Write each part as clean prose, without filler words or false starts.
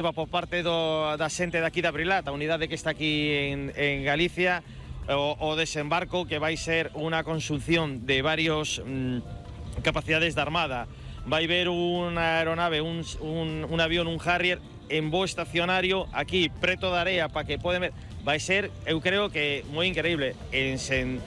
por parte da xente daqui de Abrilat, a unidade que está aquí en Galicia, o desembarco que vai ser unha conxunción de varios capacidades da Armada. Vai ver unha aeronave, un avión, un Harrier en voo estacionario aquí, preto da area, para que poden ver. Vai ser, eu creo que moi increíble, sen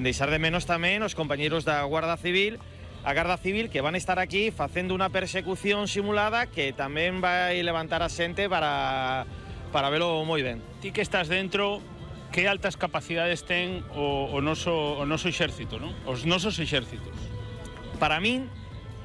deixar de menos tamén os compañeiros da Guarda Civil, a Garda Civil, que van estar aquí facendo unha persecución simulada que tamén vai levantar a xente para velo moi ben. Ti que estás dentro, que altas capacidades ten o noso exército, non? Os nosos exércitos. Para min,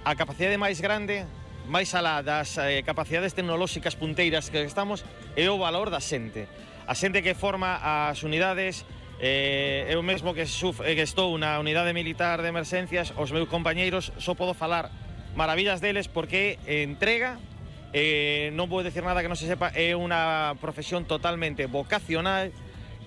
a capacidade máis grande, máis alá das capacidades tecnolóxicas punteiras que estamos, é o valor da xente. A xente que forma as unidades. Eu mesmo que estou na unidade militar de emerxencias, os meus compañeiros só podo falar maravillas deles porque entrega, non vou decir nada que non se sepa, é unha profesión totalmente vocacional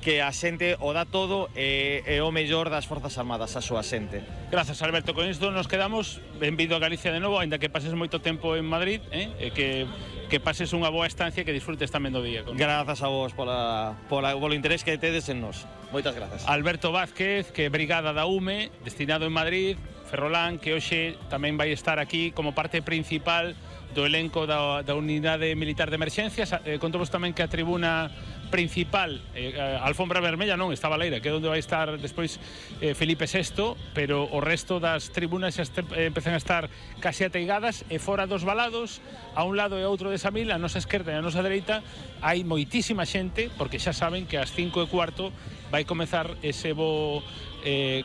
que a xente o dá todo e o mellor das Forzas Armadas, a súa xente. Grazas, Alberto. Con isto nos quedamos. Benvido a Galicia de novo, aínda que pases moito tempo en Madrid, e que pases unha boa estancia e que disfrutes tamén do día. Grazas a vos polo interés que tedes en nós. Moitas grazas. Alberto Vázquez, que é brigada da UME, destinado en Madrid, Ferrolán, que hoxe tamén vai estar aquí como parte principal do elenco da unidade militar de emerxencias. Contamos tamén que a tribuna principal, a alfombra vermella non, está Baleira, que é onde vai estar despois Felipe VI, pero o resto das tribunas xa empezan a estar casi ateigadas, e fora dos valados, a un lado e a outro desa mil, a nosa esquerda e a nosa dereita, hai moitísima xente, porque xa saben que ás 5:15 vai comezar ese voo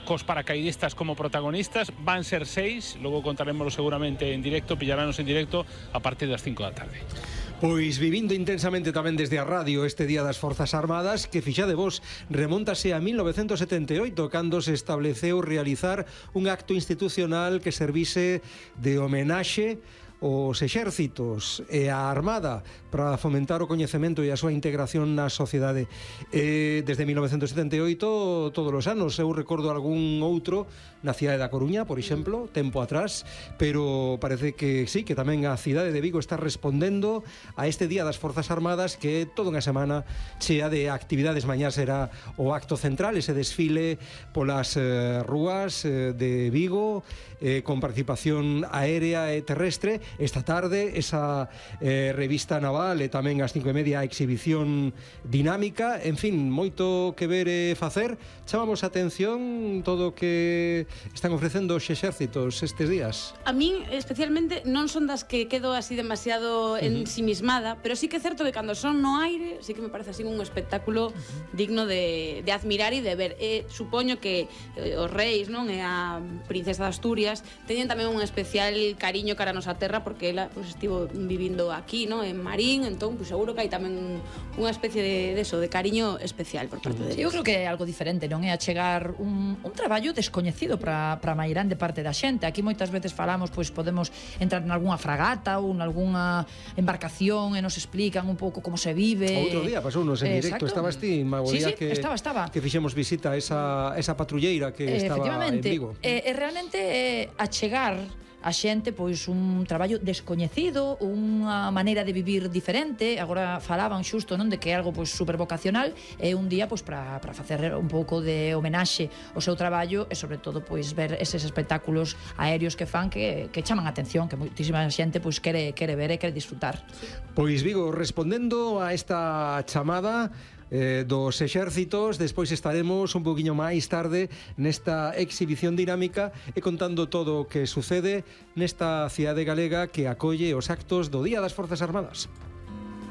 cos paracaidistas como protagonistas. Van ser 6, logo contaremoslo seguramente en directo, pillarános en directo a partir das 5 da tarde. Pois vivindo intensamente tamén desde a radio este Día das Forzas Armadas, que fixade vos, remóntase a 1978, cando se estableceu realizar un acto institucional que servise de homenaxe os exércitos e a Armada para fomentar o coñecemento e a súa integración na sociedade. Desde 1978, todos os anos, eu recordo algún outro na cidade da Coruña, por exemplo, tempo atrás, pero parece que sí, que tamén a cidade de Vigo está respondendo a este Día das Forzas Armadas, que toda unha semana chea de actividades. Mañá será o acto central, ese desfile polas rúas de Vigo, con participación aérea e terrestre. Esta tarde esa revista naval e tamén ás 5:30 a exhibición dinámica. En fin, moito que ver e facer. Chamamos a atención todo o que están ofrecendo os exércitos estes días. A min especialmente non son das que quedo así demasiado ensimismada, pero sí que é certo que cando son no aire sí que me parece así un espectáculo digno de admirar e de ver. Supoño que os reis, non, e a princesa de Asturias teñen tamén un especial cariño cara a nosa terra, porque ela pues, estivo vivindo aquí, ¿no? En Marín, entón pues, seguro que hai tamén unha especie de cariño especial por parte deles. Eu creo que é algo diferente, non é achegar un traballo descoñecido para a mairande parte da xente. Aquí moitas veces falamos, pois podemos entrar en algunha fragata ou en algunha embarcación e nos explican un pouco como se vive. Outro día pasounos en directo, estabas ti, Magoría, sí, estaba. Que fixemos visita a esa patrulleira que estaba en Vigo. Realmente achegar a xente pois un traballo descoñecido, unha maneira de vivir diferente. Agora falaban xusto, non, de que é algo pois super vocacional, é un día pois para facer un pouco de homenaxe ao seu traballo e sobre todo pois ver eses espectáculos aéreos que fan que chaman a atención, que moitísima xente pois quere ver e quere disfrutar. Pois Vigo, respondendo a esta chamada dos exércitos, despois estaremos un poquinho máis tarde nesta exhibición dinámica e contando todo o que sucede nesta cidade galega que acolle os actos do Día das Forzas Armadas.